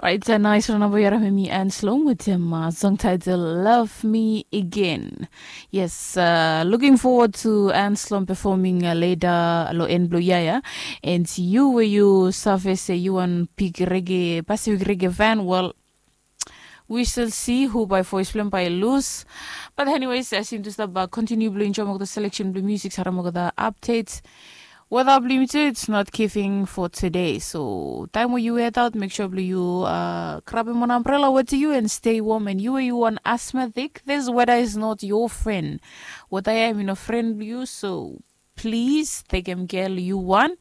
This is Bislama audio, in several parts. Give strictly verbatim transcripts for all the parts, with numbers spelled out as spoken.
Orait, nais ran naba yu harim hemi Anslom wetem song title Love Me Again. Yes, uh, looking forward to Anslom performing uh, later lo en blo yaya. And yu we yu save se yu wan big reggae, Pacific reggae fan, well, we shall see who by voice blem by lose. But anyways, as yu just about continue blo enjoy mokta selection blo music, harim mokta updates. Weda blo yu tu, it's not giving for today. So taim we yu head out, make sure blo yu uh, grabim wan umbrella wetem yu and stay warm. And yu we yu wan asthmatic, this weather is not your friend. Weda ya hemi no friend blo yu, so please tekem care yu wan.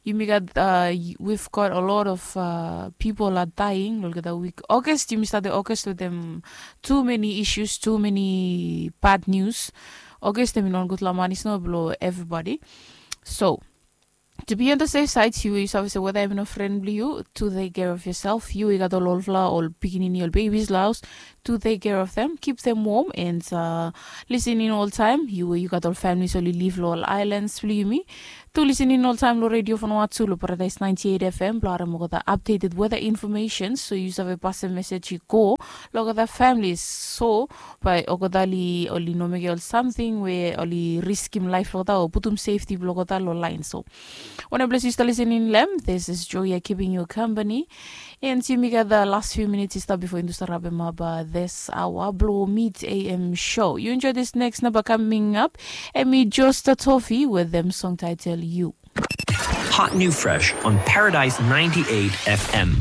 Yumi gat uh, we've got a lot of uh, people are dying lo olgeta wik August. Yumi start August wetem too many issues, too many bad news. August hemi no wan gudfala man, is no blo everybody. So to be on the safe side, yu yu save se weda hemi no friend blo yu, tu take care of yourself. Yu yu gat ol olfala ol pikinini, ol babies lo haus, tu take care of them, keep them warm and uh, listen in oltaim. Yu yu gat ol families oli live lo ol islands blo yumi, tu listen in oltaim lo Radio Vanuatu lo Paradise ninety-eight F M blo harim olgeta updated weather information, so yu save pasem message i go lo olgeta families. So by olgeta oli oli no mekem ol something we oli riskim life lo olgeta o putum safety blo olgeta lo line. So wanem ples yu stap listening lo hem, this is Joya keeping you company. And yumi gat the last few minutes i stap before yumi start wrap him up uh, this hour blo Mid A M show. You enjoy this next number coming up. Hemi Josta Toffee with them song title You. Hot new fresh on Paradise ninety-eight F M.